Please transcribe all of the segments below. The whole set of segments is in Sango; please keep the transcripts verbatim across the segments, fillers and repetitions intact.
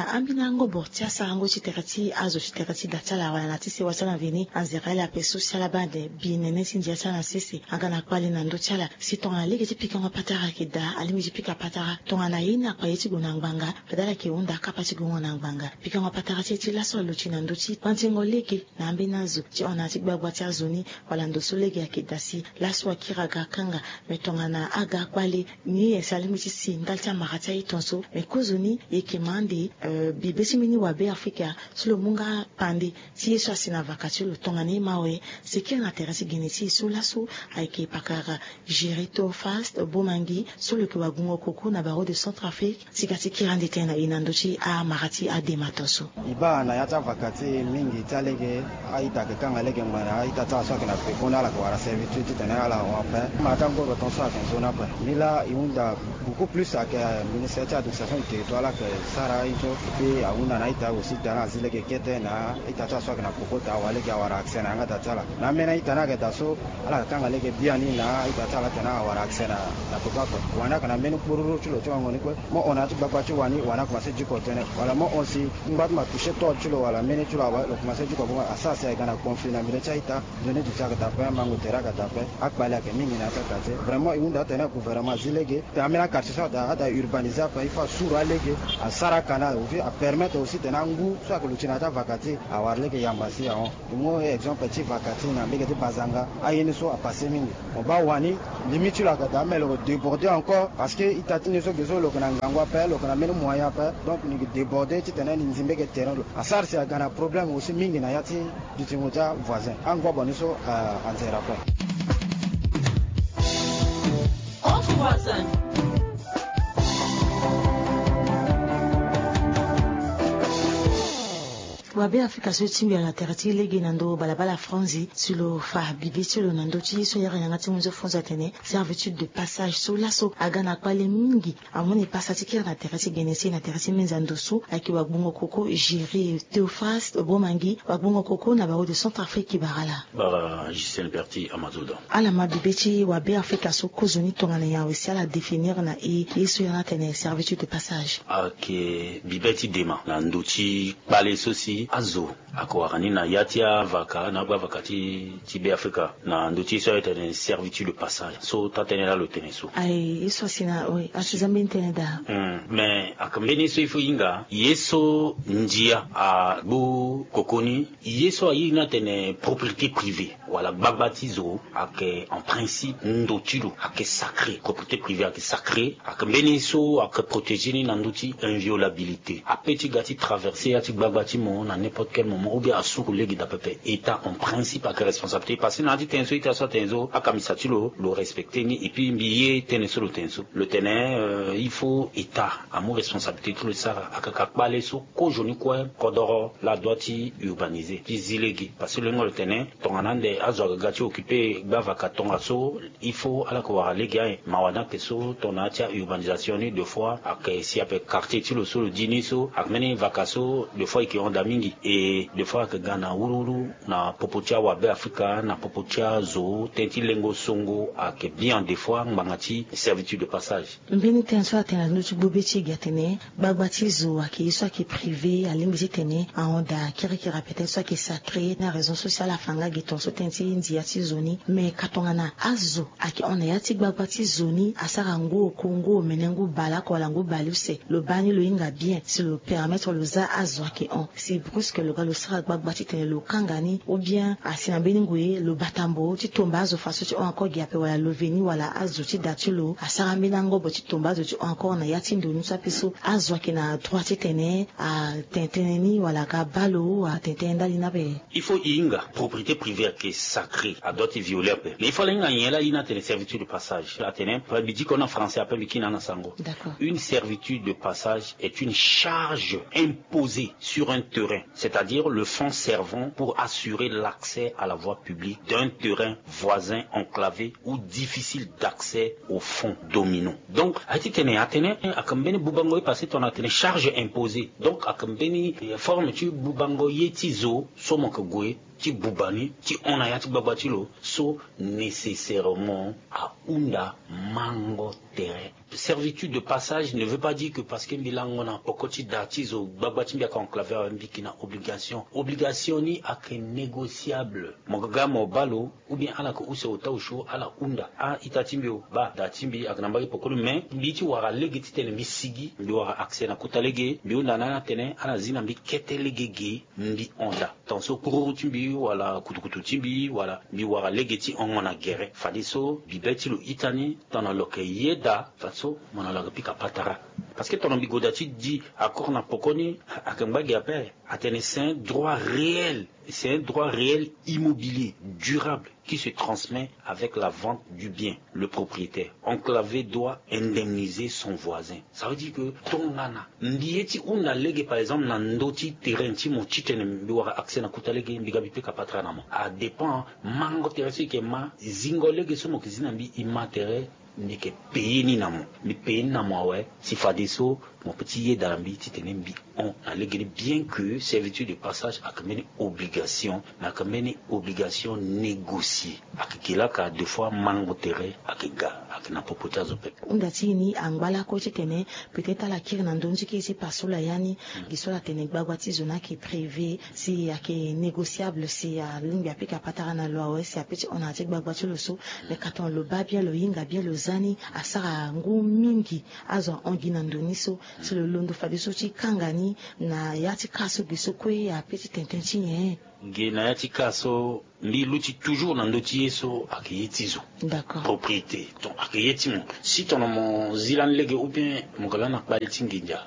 Ambeni angobo ti asarango ti tere ti azo ti tere ti da ti ala wala na ti sewa ti ala na veni anzere ala ape so si ala baa ande bi nene ti ndia ti ala na sese aga na kpale na ndö ti ala. Si tongana lege ti pikango patara ayeke daa alingbi ti pika patara tongana ye ni akpa ye ti gue na ngbanga. Fade ala yeke hunda akapa ti gue ngo na ngbanga. Pikango patara ti e ti laso aluti na ndö ti panzingo lege na ambeni azo ti hon na ya ti gbagba ti azo ni. Wala ndo so lege ayeke daa si laso akiri aga akanga. Me tongana aga akpale ni e si alingbi ti si ndali ti amara ti aye tonso. Me kozoni e yeke ma ande bibe ti mbeni wabe afrika so lo mu nga pande ti ye so asi na vaka ti lo tongana e ma awe. Si kiri na tere ti gene ti e so laso ayeke pakara géré to fast bomangi so lo yeke wagungo koko na baro de centrafrique. Sika ti kiri ande tënë na e na ndö ti amara ti adema tonso. E baa na ya ti avaka ti e mingi ti alege a-ita ayeke kanga lege ngbene a-ita ti ala so ayeke na peko ni ala yeke wara servitude titene ala hon ape. Ma ti angoro tonso ayeke nzoni ape. Nilaa e hunda beaucoup plus ayeke ministère ti administration du territoire ala yeke sara aye so. Epui ahunda na a-ita aussi titene azi lege kete na a-ita ti ala so ayeke na peko titene awa lege awara accès na yanga daa ti ala. Na ambeni a-ita ni ayeke daa so ala yeke kanga lege biani na a-ita ti ala titene awara accès na peko ape. Wani ayeke na mbeni kporuru ti lo ti wango ni kue. Mo hon na ya ti gbagba ti wani wani akomanse diko tënë wala mo hon si ngba ti ma toucher tôle ti lo wala mbeni ti lo awe lo komanse diko bongo asara si ayeke na conflit na milieu ti a-ita. Nzoni duti ayeke daa ape mango tere ayeke daa ape. Akpale ayeke mingi na ya ti akate vraiment e hunda atene gouvernement azi lege. Ambeni akartie so ada ada urbanise ape il faut asuru alege asara canal aussi apermettre aussi tene angu so ayeke luti na ya ti avaka ti e awara lege yamba si ahon. Mo exemple ti vaka ti na mbege ti bazanga aye ni so apasse mingi. Mo baa wani limite ti lo ayeke daa me lo yeke déborder encore parce que ita ti ni so ge so lo yeke na ngangu ape lo yeke na mbeni moyen ape. Donc ni yeke déborder titene ni nzi mbege terrain lo asara si aga na problème aussi mingi na ya ti dutingo ti avoisin angobo ni so. Anzere ape. Wabe afrika so e tingbi ala na tere ti lege na ndo balabala franzi si lo fa bibe ti lo na ndö ti ye so ayere yanga ti munzo franzi atene servitude de passage so laso aga na kpale mingi. Amu ni pasa ti kiri na tere ti gene ti e na tere ti minza ndo so ayeke wagbongo koko gérer teofas bomangi wagbongo koko na baro de centrafrique bara. Bara gisele berti amazoda. Ala ma bibe ti wabe afrika so kozoni tongana nyen awe si ala définir na e ye so yanga atene servitude de passage. Ayeke bibe ti dema na ndö ti kpale so si azo ayeke wara ni na ya ti avaka na agba avaka ti ti be afrika na ndö ti ye so ayeke tene servitude de passage so taa tënë laa lo tene so. Aye ye so asi na oui asi za mbeni tënë daa. Mais ayeke mbeni ye so il faut hinga ye so ndia agbu koko ni ye so aye ni atene propriété privée wala gbagba ti zo ayeke en principe ndo ti lo ayeke sacré propriété privée ayeke sacré. Ayeke mbeni so ayeke protéger ni na ndö ti inviolabilité ape ti ga ti traverser ya ti gbagba ti mo na n'importe quel moment ou bien asuru lege daa pepe état en principe ayeke responsabilité parce que na ya ti tënë so ita so atene so akambisa ti lo lo respecter ni et puis mbi ye tënë so lo tene so lo tene il faut état amu responsabilité ti lo ti sara akaka kpale so kozoni kue kodoro la doit ti urbaniser ti zi lege parce que lo hinga lo tene tongana ande azo aga ga ti occuper gbavaka tongaso. Il faut ala yeke wara lege aye mawa ni ayeke so tongana ya ti aurbanisation ni de fois ayeke si ape quartier ti lo so lo di ni so ayeke mbeni vaka so de fois e yeke hon daa mingi. E de fois ayeke ga na wuruwuru na popo ti awabe afrika na popo ti azo tënë ti lengo songo ayeke bien de fois ngbanga ti servitude de passage. Mbeni tënë so atene na ndö ti gbu be ti e gi atene gbagba ti zo ayeke ye so ayeke privé alingbi titene ahon daa kirikiri ape tënë so ayeke sacré na raison so si ala fa nga gi tongaso tënë ti ndia ti zo ni. Me ka tongana azo ayeke hon na ya ti gbagba ti zo ni asara ngu oko ngu omene ngu baleoko wala ngu baleuse lo baa ni lo hinga bien si lo permettre lo za azo ayeke hon si brusque lo ga lo sara gbagba titene lo kanga ni ou bien asi na mbeni ngoi lo bata mbo ti tomba azo faso ti hon encore gi ape wala lo veni wala azo ti da ti lo asara mbeni angobo ti tomba azo ti hon encore na ya ti ndo ni so ape so azo ayeke na droit titene atene tënë ni wala aga baa lo atene tënë ndali ni ape. Il faut e hinga propriété privée ayeke sacré adoit ti violer ape mais il faut ala hinga nyen laa ye ni atene servitude de passage atene mbi diko na français ape mbi kiri na sango. Une servitude de passage est une charge imposée sur un terrain c'est-à-dire le fonds servant pour assurer l'accès à la voie publique d'un terrain voisin enclavé ou difficile d'accès au fonds dominant. Donc aye ti tene atene ayeke mbeni bubango ye parce que tongana atene charge imposée donc ayeke mbeni forme ti bubango ye ti zo so mo yeke gue ti buba ni ti hon na ya ti gbagba ti lo so nécessairement ahunda mango tere. Servitude de passage ne veut pas dire que parce que mbi lango na poko ti da ti zo gbagba ti mbi ayeke enclavé awe, mbi yeke na obligation. Obligation ni ayeke négociable. Mo ga ga mo baa lo, ou bien ala yeke use ota osio ala hunda a-ita ti mbi o, baa da ti mbi ayeke na mbage poko ni, mais mbi ti wara lege titene mbi sigi, mbi wara accès na kota lege, mbi hunda na ala tene ala zi na mbi kete lege ge, mbi hon da. Ton so kururu ti mbi wala kutukutu ti mbi wala mbi wara lege ti hongo na gere. Fadeso bibe ti lo ita ni, tongana lo yeke yeda, fadeso mo na lo ayeke pika patara. Parce que tongana mbi goda ti di accord na poko ni, ayeke ngba gi ape. Atene c'est un droit réel, c'est un droit réel immobilier, durable, qui se transmet avec la vente du bien. Le propriétaire enclavé doit indemniser son voisin. Ça veut dire que tongana mbi ye ti hunda lege, par exemple, na ndö ti terrain ti mo titene mbi wara accès na kota lege, mbi ga mbi pika patara na mo. Adépend mango tere so e yeke ma, zingo lege so mo yeke zi na mbi e ma tere, mbi yeke payer ni na mo. Mbi payer ni na mo awe, si fadeso mo peut ti yeda na mbi titene mbi hon na lege ni, bien que servitude de passage ayeke mbeni obligation, mais ayeke mbeni obligation négociée. Ayeke gelaka deux fois mango tere ayeke ga, ayeke na popo ti azo pepe. Hunda ti e ni angba lakue titene peut-être ala kiri na ndö ni ti kiri ti paso laa ya ni, gi so ala tene gbagba ti zo ni ayeke privé, si ayeke négociable, si alingbi apika patara na lo awe, si ape ti hon na ya ti gbagba ti lo so. Mais ka tongana lo baa bien, lo hinga bien, lo za ni, asara ngu mingi azo ahon gi na ndo ni so. Si lo londo fadeso ti kanga ni na ya ti ka so, gi so kue ape ti tene tënë ti nyen? Ge na ya ti ka so, mbi luti toujours na ndö ti ye so ayeke ye ti zo. D'accord. Propriété, donc ayeke ye ti mo. Si tongana mo zi lani lege ou bien mo yeke lani na kpale ti nginza,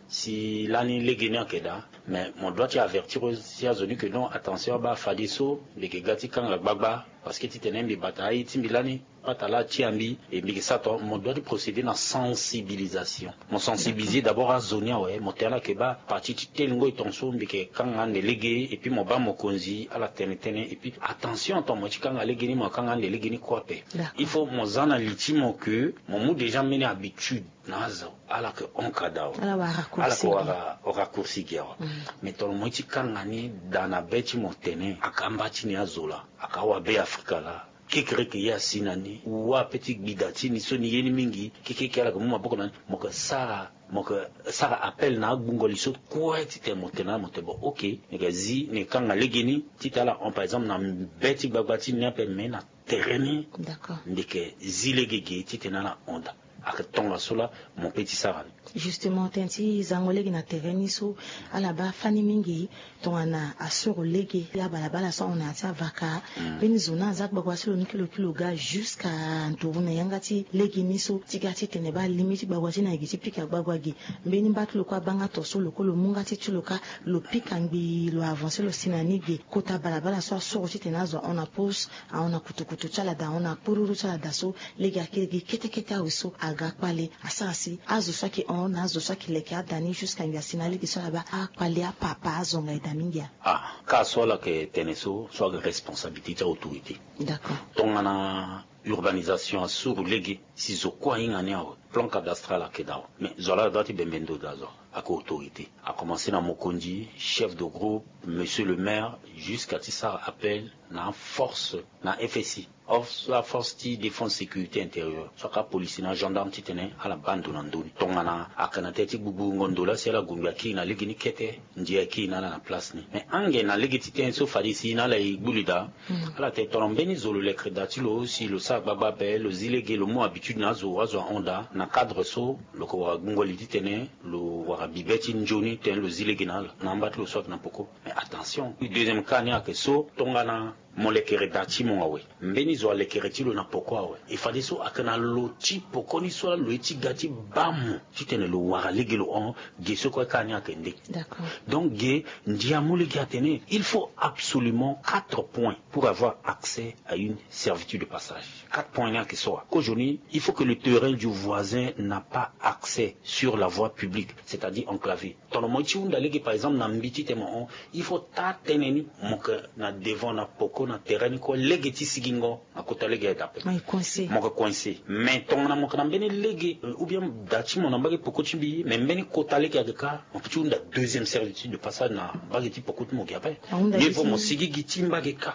si lani lege ni ayeke daa, mais mo doit ti avertir aussi azo ni que non, attention, abaa fadeso mbi yeke ga ti kanga gbagba, parce que titene mbi bata aye ti mbi lani, patara atia mbi, e mbi yeke sara tongana mo doit ti procéder na sensibilisation. Mo sensibiliser d'abord azo ni awe, mo tene ala yeke baa partie ti telingo e tongaso mbi yeke kanga ande lege, et puis mo baa mokonzi ala tene tënë, et puis attention, tongana mo ye ti kanga lege ni, mo kanga ande lege ni kue ape. D'accord. Il faut mo za na li ti mo que mo mu déjà mbeni habitude na azo, ala yeke hon ka daa awe. Ala yeke wara raccourci gi awe. Mais tongana mo ye ti kanga ni daa na be ti mo tene, ayeke amba ti ni azo laa, ayeke awabe Afrika laa, kekereke ye asi na ni, wa ape ti gbida ti ni so ni ye ni mingi, kekeke ala yeke mu maboko na ni, mo yeke sara, mo yeke sara appel na agbungo li so kue titene mo tene na mo tene bon, ok, ni yeke zi, ni yeke kanga lege ni titene ala hon, par exemple, na be ti gbagba ti ni ape, mais na tere ni. D'accord. Mbi yeke zi lege ge titene ala hon daa. Ayeke tongaso laa mo peut ti sara ni. Justement, tënë ti zango lege na tere ni so, ala baa fani mingi tongana asoro lege, abalabala so ahon na ya ti avaka. Mbeni zo ni aza gbagba ti lo ni kilo kilo ga jusqu'à nduru na yanga ti lege ni so, ti ga titene baa limi ti gbagba ti ni ayeke ti pika gbagba ge. Mbeni mba ti lo kue abaa nga to so, lo kue lo mu nga ti ti lo kâ, lo pika ngbii, lo avancer lo si na ni ge. Kota balabala so asoro titene azo ahon na pause, ahon na kutukutu ti ala daa, ahon na kpururu ti ala daa so, lege ayeke gi kete kete awe so aga kpale. Asara si azo so ayeke hon na azo so ayeke leke ada ni jusqu'à ngbii asi na lege so ala baa akpale apapa azonga eda mingi. Ah, ka so ala yeke tene so, so ayeke responsabilité ti autorité. D'accord. Tongana urbanisation asuru lege, si zo kue ahinga ni awe, plan cadastral ayeke daa awe. Mais zo laa ala doit ti bembe ndo daa, zo ayeke autorité. A commencer na mokonzi, chef de groupe, monsieur le maire, jusqu'à ti sara appel na force, na F S I, of-, la force ti défense sécurité intérieure, so ayeke apolisi na agendarme, titene ala baa ndo na ndö ni. Tongana ayeke na tënë ti gbugbungo ndo laa, si ala gue ngbii akiri na lege ni kete, ndia akiri na ala na place ni. Mais ange na lege ti tënë so, fade si na ala e gbu li daa. Ala tene tongana mbeni zo lo lekere daa ti lo, si lo sara gbagba ape, lo zi lege, lo mu habitude na azo, azo ahon daa, na cadre so lo yeke wara gbungo li titene lo wara bibe ti nzoni titene lo zi lege na ala na amba ti lo so ayeke na poko. Mais attention, deuxième cas ni ayeke so, tongana mo lekere daa ti mo awe, mbeni zo alekere ti lo na poko awe, e fadeso ayeke na lo ti poko ni so laa lo ye ti ga ti baa mo titene lo wara lege lo hon. Ge so kue ka ni ayeke nde. D'accord. Donc ge, ndia amu lege atene il faut absolument quatre points pour avoir accès à une servitude de passage. Quatre points ni ayeke so wa. Kozoni, il faut que le terrain du voisin n'a pas accès sur la voie publique, c'est-à-dire enclavé. Tongana mo ye ti hunda lege, par exemple, na mbi titene mo hon, il faut taa tënë ni mo yeke na devant na poko na terrain ni kue lege ti sigingo na kota lege ayeke dape. Mo yeke coincé. Mais tongana mo yeke na mbeni lege, euh, ou bien da ti mo na mbage peko ti mbi, mais mbeni kota lege ayeke kâ, mo peut ti hunda deuxième servitude de passage na mbage ti peko ti mo gi ape. Ye vo mo sigi gi ti mbage kâ.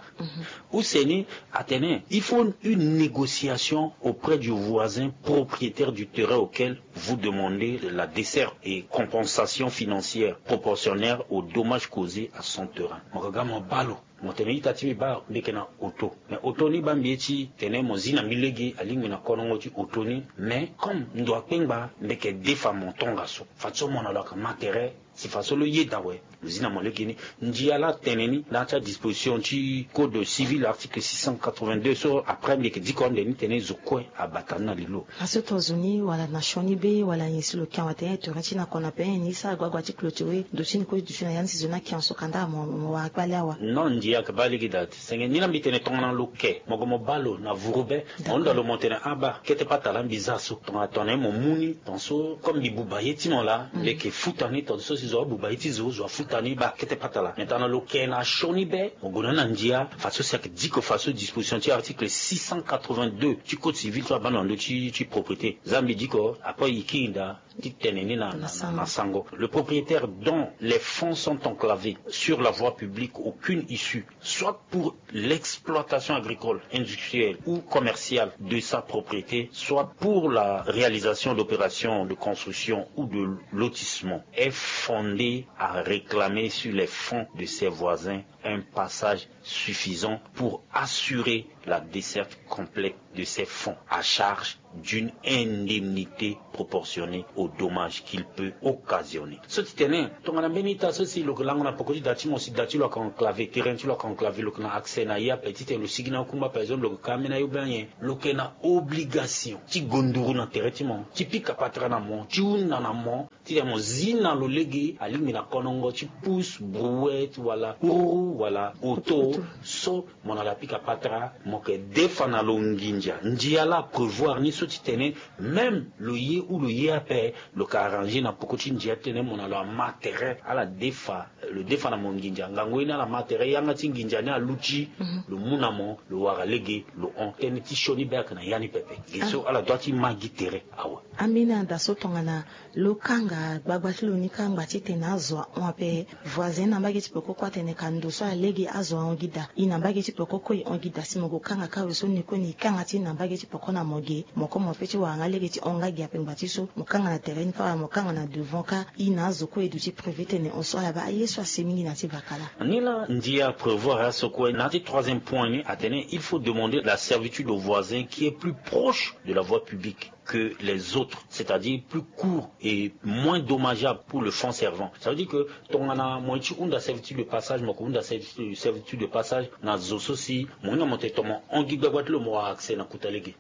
Use ni atene il faut une négociation auprès du voisin propriétaire du terrain auquel vous demandez la desserte et compensation financière proportionnelle aux dommages causés à son terrain. Mo ga mo balo. Mo tene ita ti mbi baa mbi yeke na oto. Mais oto ni baa mbi ye ti tene mo zi na mbi lege alingbi na konongo ti oto ni. Mais comme ndo akpengba mbi yeke defa mo tongaso. Fadeso mo na lo ayeke ma tere. Si fadeso lo yeda awe. Lo zi na mo lege ni. Ndia laa atene ni na ya ti adisposition ti code civil article six cent quatre-vingt-deux so après mbi yeke diko ande ni tene zo kue abata ni na lilo. Aso tonga zo ni wala na sioni be wala nyen si lo kia awe atene tere ti na kona pe nyen ni sara gbagba ti clôturer ndo ti ni kue ti duti na ya ni si zo ni akia so kanda mo wara kpale awa. Non, ndia ayeke baa lege daa ti senge ni laa mbi tene tongana lo ke mo gue mo baa lo na vuru be. Mo hunda lo mo tene abaa kete pata laa mbi za so tongana tongana ye mo mu ni tongaso comme mbi buba ye ti mo laa mbi yeke futa ni tongaso si zo abuba ye ti zo zo afuta ni baa kete pata laa. Mais tongana lo ke na sioni be mo gue na ni na ndia fadeso si ayeke diko fadeso disposition ti article six cent quatre-vingt-deux ti code civil so abaa na ndo ti ti propriété. Za mbi diko après e kiri daa ti tene ni na na sango. Le propriétaire dont les fonds sont enclavés sur la voie publique aucune issue soit pour l'exploitation agricole, industrielle ou commerciale de sa propriété, soit pour la réalisation d'opérations de construction ou de lotissement, est fondé à réclamer sur les fonds de ses voisins un passage suffisant pour assurer la desserte complète de ces fonds à charge d'une indemnité proportionnée aux dommages qu'il peut occasionner. So ti tene tongana mbeni ita so si lo yeke lango na peko ti da ti mo si da ti lo ayeke enclavé, terrain ti lo ayeke enclavé, lo yeke na accès na ye ape titene lo sigi na akungba par exemple lo yeke ka ambeni ayo be anyen, lo yeke na obligation ti gonduru na terrain ti mo ti pika patara na mo ti hunda na mo titene mo zi na lo lege alingbi na konongo ti pousse brouette wala hururu wala auto so mo na lo apika patara mo yeke defa na lo nginza. Ndia laa aprévoir ni so ti tene même lo ye ou lo ye ape lo yeke arranger na peko ti ndia titene mo na lo ama tere ala defa lo defa na mo nginza ngangu ye ni ala ma tere yanga ti nginza ni aluti. Lo mu na mo lo wara lege lo hon tënë ti sioni be ayeke na ya ni pepe. Ge so ala doit ti ma gi tere awe. Ambeni ada so tongana lo kanga gbagba ti lo ni kâ angba titene azo ahon ape. Voisin na mbage ti peko kue atene ka ndo so alege azo ahon gi daa. E na mbage ti peko kue e hon gi daa si mo gue kanga kâ awe so ni kue ni e kanga ti e na mbage ti peko na mo ge. Mo kue mo pe ti wara nga lege ti hon nga gi ape ngba ti so mo kanga na tere ni kâ wala mo kanga na devant kâ. E na azo kue e duti privé tene hon so ala baa aye so asi mingi na ya ti vaka laa. Ni laa ndia prévoir aso kue na ya ti troisième point ni atene il faut demander la servitude au voisin qui est plus proche de la voie publique que les autres, c'est-à-dire plus court et moins dommageable pour le fonds servant. Ça veut dire que tongana mo ye ti hunda servitude de passage mo yeke hunda servitude de passage na zo so si mo hinga mo tene tongana mo hon gi gbagba ti lo mo wara accès na kota lege.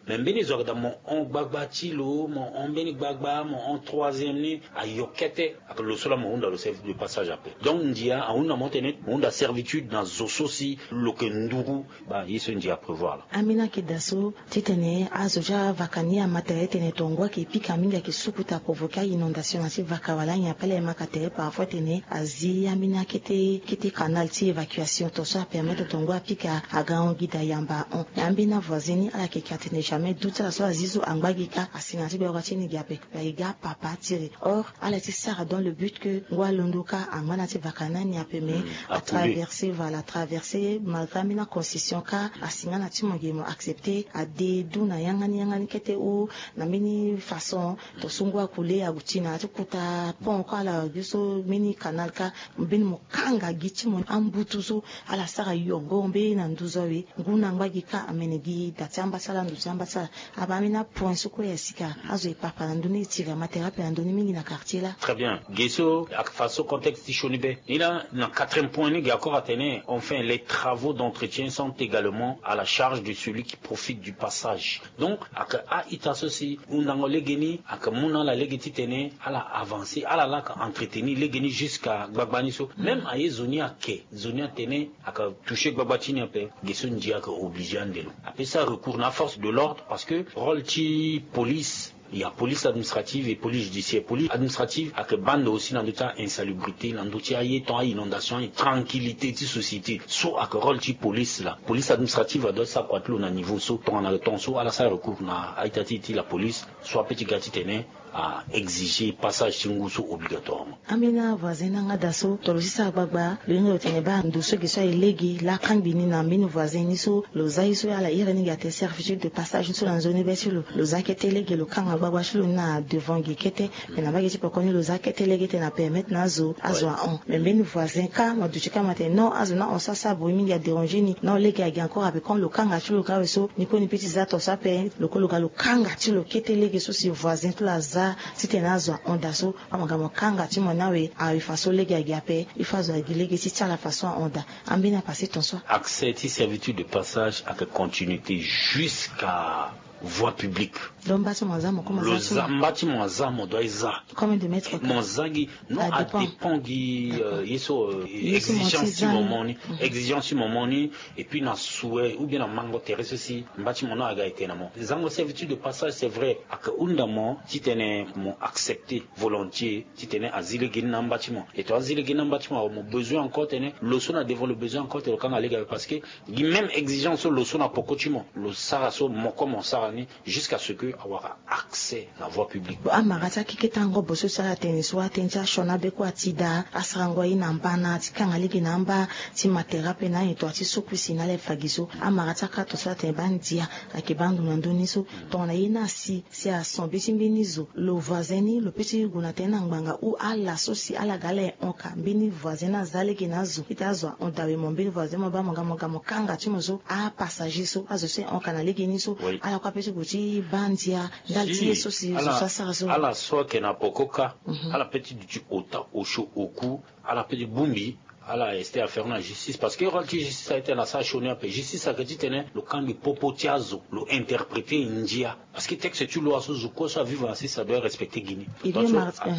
Mais mbeni zo ayeke daa mo hon gbagba ti lo mo hon mbeni gbagba mo hon troisième ni ayo kete. Aka lo so laa mo hunda lo servitude de passage ape. Donc ndia ahunda mo tene mo hunda servitude na zo so si lo yeke nduru. Baa ye so ndia aprévoir laa. Ambeni akeda so titene azo ti avaka ni ama tere titene tongo ayeke pika mingi ayeke sukuta provoquer a-inondation na ya ti vaka wala anyen ape laa e ma ka tere parfois tene azi ambeni akete kete canal ti évacuation tongaso apermettre tongo apika aga hon gi daa yamba ahon. Mais ambeni avoisin ni ala yeke ka tene jamais du ti ala so azi so angba gi kâ asinga na ti gbagba ti ni gi ape. Ba e ga papa ti re. Or ala ti sara dans le but que ngu alondo kâ angba na ti vaka na ni ape mais atraverse voilà atraverse malgré ambeni aconcession kâ asinga na ti mo ge mo accepter ade du na yanga ni yanga ni kete ou na mbeni façon. Tongaso ngu akule aguti na ya ti kota pont kâ ala gi so mbeni canal kâ mbeni mo kanga gi ti mo ambutu so ala sara yongo mbeni na nduzu awe. Ngu na angba gi kâ amene gi da ti ambasala ndo ti ambasala. Abaa ambeni apoint so kue ya sika azo e papa na ndö ni e tiri ama tere ape na ndö ni mingi na quartier laa. Très bien. Ge so ayeke fa so contexte ti sioni be. Ni laa na quatrième point ni ge accord atene enfin les travaux d'entretien sont également à la charge de celui qui profite du passage. Donc ayeke a-ita so si hundango lege ni ayeke mu na ala lege titene ala avancer ala laa ayeke entretenir lege ni jusqu'à gbagba ni so même aye zo ni ake zo ni atene ayeke toucher gbagba ti ni ape. Ge so ndia ayeke obligé ande lo ape sara recours na aforce de l'ordre parce que rôle ti police Il y a police administrative et police judiciaire. Police administrative ayeke baa ndo aussi na ndö ti a-insalubrité, na ndö ti aye ton, a-inondation, tranquillité ti société. So ayeke rôle ti police laa. Police administrative adoit ti sara kua ti lo na niveau so tongana ton so ala sara recours na a-ita ti e ti la police, so ape ti ga titene a exiger passage ti ngu so obligatoirement. Ambeni avoisin ni angada so tongana lo si sara gbagba, lo hinga lo tene baa ndo so gi so aye lege laa akangbi ni na mbeni voisin ni so lo za ye so ala iri ni gi atene servitude de passage ni so na nzoni be ti lo. Lo za kete lege, lo kanga gbagba ti lo ni na devant gi kete. Mais na mbage ti pekoni lo za kete lege titene apermettre na azo azo ahon. Mais mbeni voisin kâ mo duti kâ mo tene non, azo ni ahon so asara bruit mingi, adéranger ni. Non, lege agi encore ape. Comme lo kanga ti lo kâ awe so, ni kue ni pe ti za ton so ape. Lo kue lo ga lo kanga ti lo kete lege so si voisin ti lo aza titene azo ahon daa so. Amagamo kanga ti mo ni awe, awe façon lege agi ape. Il faut azo agi lege ti ti ala façon ahon daa. Ambeni apase ton so. Accès ti servitude de passage ayeke continuité jusqu'à voie publique. Donc mba ti mo aza, mo koma za ti mo. Mba ti mo aza, mo doit e za. Combien de mètres carrés? Mo za gi. Non, adépend gi ye so, exigence ti mo mo ni. Exigence ti mo mo ni. Et puis na souhait ou bien na mango tere so si mba ti mo ni aga ete na mo. Zango servitude de passage, c'est vrai, ayeke hunda mo titene mo accepter volontiers titene azi lege ni na amba ti mo. Et ton azi lege ni na amba ti mo awe, mo besoin encore tene lo so na devant lo besoin encore tene lo kanga lege awe, parce que gi même exigence so lo so na poko ti mo lo sara so, mo kue mo sara ni, jusqu'à ce que awara accès na voie publique. Bon, amara ti akeke ti angobo so si ala tene so, atene ti asioni abe kue ati daa, asarango aye na mbana ti kanga lege na amba, ti ma tere ape na anyen, to ati sukui si na ala e fa gi so. Amara ti akara ton so atene baa ndia ayeke baa ndo na ndö ni so. Tongana ye ni asi si ason be ti mbeni zo, lo voisin ni lo pe ti gue na tënë na ngbanga ou ala so si ala ga ala e hon ka, mbeni voisin ni aza lege na azo, ita azo ahon daa awe, mo mbeni voisin mo baa mo ga mo ga mo kanga ti mo so, apassager so, azo so e hon ka na lege ni so. Ala kue ape ti gue ti baa ndia ndali ti ye so si zo so asara so. Ala so ayeke na poko kâ, ala pe ti duti ota osio oku, ala pe ti bongbi, ala ester affaire ni na justice, parce que rôle ti justice ayeke tene asara sioni ape. Justice ayeke titene lo kangbi popo ti azo, lo interpréter ndia. Parce que texte ti loi so zo kue so avivre na sese adoit respecter gi ni.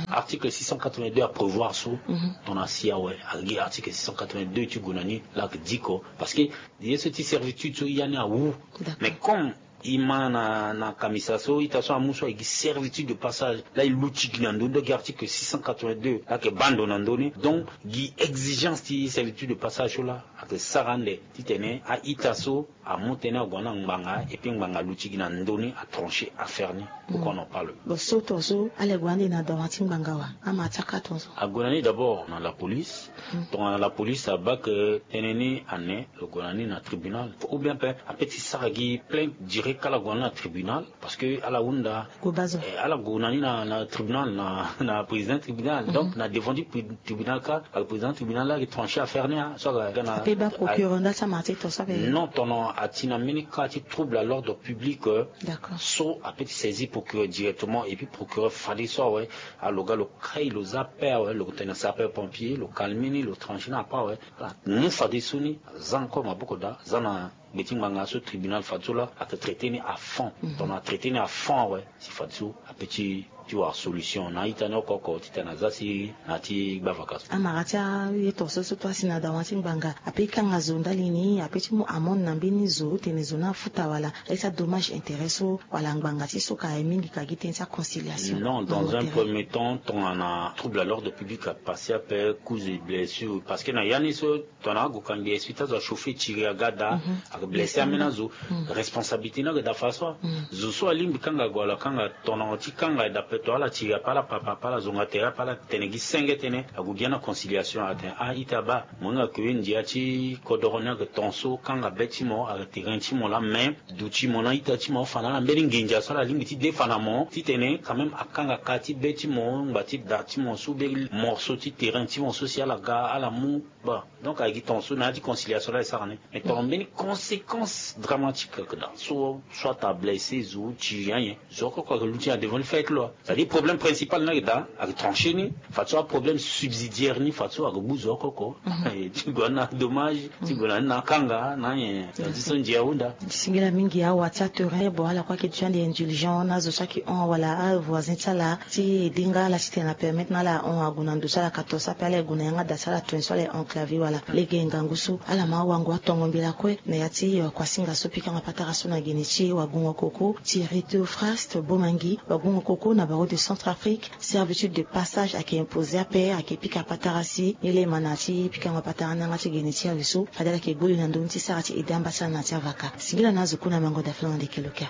Article six cent quatre-vingt-deux aprévoir so, tongana asi awe, agi article six cent quatre-vingt-deux ti gue na ni laa ayeke diko. Parce que ye so ti servitude so ya ni awu. Mais comme e ma na na kamisa so ita so amu so aye gi servitude de passage laa e luti gi na ndö ni, donc gi article six cent quatre-vingt-deux laa ayeke baa ndo na ndö ni. Donc gi exigence ti servitude de passage so laa ayeke sara ande titene a-ita so amu tënë ague na ngbanga, et puis ngbanga aluti gi na ndö ni, atrancher affaire ni. Pourquoi on en parle? Bon, so ton so ala gue ande na dawa ti ngbanga wa? Ama ti akara ton so ague na ni d'abord na la police. Tongana la police abaa ke tënë ni ane, lo gue na ni na tribunal. Ou bien pe ape ti sara gi plainte direct, ala gue na ni na tribunal. Parce que ala hunda ala gue na ni na tribunal, na président tribunal. Donc na devant ti tribunal kâ, président tribunal laa ayeke trancher affaire ni. So aga na ape baa procureur nda ti amara ti ton so ape? Non, tongana ati na mbeni cas ti trouble à l'ordre public, so ape ti saisir procureur directement, et puis procureur fadeso awe, lo ga lo kai lo za ape awe, lo tene sapeur pompier, lo calmer ni, lo trancher ni ape awe. Ala mu fadeso ni, aza encore maboko daa, aza na gbe ti ngbanga so tribunal fadeso laa ayeke traiter ni à fond. Tongana atraiter ni à fond awe, si fadeso ape ti ti wara solution na a-ita ni oko oko titene aza si na ya ti gbavaka so. Amara ti aye ton so so toi asi na dawa ti ngbanga ape ti kanga zo ndali ni, ape ti mu amende na mbeni zo tene zo ni afuta wala aye ti adommage intérêt so, wala ngbanga ti so ka aye mingi ka gi tënë ti aconciliation? Non, dans un premier temps tongana trouble à l'ordre public apase ape, coups et blessures, parce que na ya ni so tongana ague ka ngbia expliquer azo, achauffer tiri aga daa, ablesser ambeni azo. Responsabilité ni ayeke daa fadeso. Zo so alingbi kanga ague wala akanga, tongana ti kanga aye daa ape, to ala tiri ape, ala papa ape, ala zonga tere ape, ala tene gi senge tënë, ague gi ana conciliation, atene a-ita baa, mo hinga ke ndia ti kodoro ni ayeke ton so, kanga be ti mo, ayeke terrain ti mo laa, mais duti mo na a-ita ti mo afa na ala mbeni nginza so ala lingbi ti defa na mo titene quand même akanga ka ti be ti mo, ngba ti da ti mo so, be morceau ti terrain ti mo so si ala ga ala mu. Bon, donc ayeke gi ton so na ya ti conciliation laa e sara ni. Mais tongana mbeni conséquence dramatique ayeke daa so, soit ablesser zo, tiri anyen, zo oko oko ayeke luti na devant ti fait ti loi. Problème principal ni ayeke daa, ayeke trancher ni. Fadeso aproblème subsidiaire ni fadeso ayeke gbu zo oko oko. Ti gue na dommage, ti gue na ni na akanga na anyen. Ti so ndia ahunda. Singila mingi awa ti aterrain bo ala kue ayeke déjà nde indulgent na azo so ayeke hon wala avoisin ti ala ti edi nga ala ti tene na permettre na ala ahon ague na ndo so ala ka to so ape ala ye gue na yanga da so ala toni so ala ye enclavé wala. Lege ngangu so ala ma awango atongo mbela kue na ya ti wakuasinga so pikanga patara so na geni ti wagungo koko ti rito fraste bomangi wagungo koko na baro de centre afrique. Servitude de passage ayeke imposé ape ayeke pika patara si ni lema na ti pikango patara ni yanga ti geni ti awe so fade ala yeke gbu li na ndoni ti sara ti ede amba ti ala na ya ti avaka. Singila na azo kue na mango daflon na ndeke lokia.